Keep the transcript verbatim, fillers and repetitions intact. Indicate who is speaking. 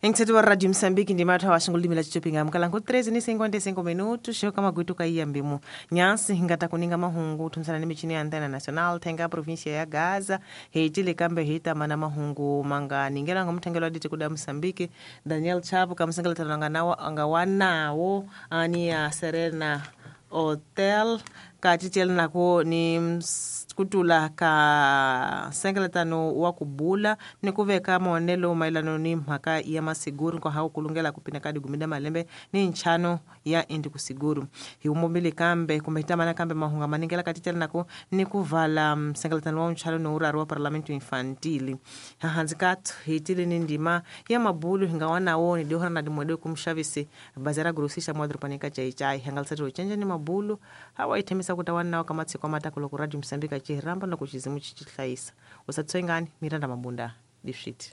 Speaker 1: Engithetho wa Radio Mozambique ndi mathu awashingulimi la chichopinga mkalango treze ni cinquenta e cinco minutos shoka magutu ka mbimu nyansi hingata kuninga mahungu thumsana ni michini ya antena nacional thenga província ya Gaza heitile kambe hitamana mahungu manga ningela ngomthengelo aditi kuda Mozambique Daniel Chapo kamsengela nga nawo anga wanawo ani ya Serena Hotel katitele nako ni kutula ka nsengeletano wa kubula ni ku veka maonelo mayelano ni mhaka ya masiguru nkoha ku kulungela ku pina ka digumi da malembe ni nchano ya indi kusiguru hi umombile kambe kumbe hitamana kambe mahunga maningela katitele nako ni ku vala nsengeletano wa nchano ni urari wa parlamento infantili hahanzi kathu hitile ni ndima ya mabulu hinga wanawo ni dihora na dimwede kumxavisi bazara grosisha mwadropanika chaichai hangalisatilo chenje ni mabulu hawa ithemisa kuta wanawo kamatsiko amatako loko Radio Mozambique chihiramba na kuchizimu chichihlayisa usatswengani Miranda Mabunda difshiti.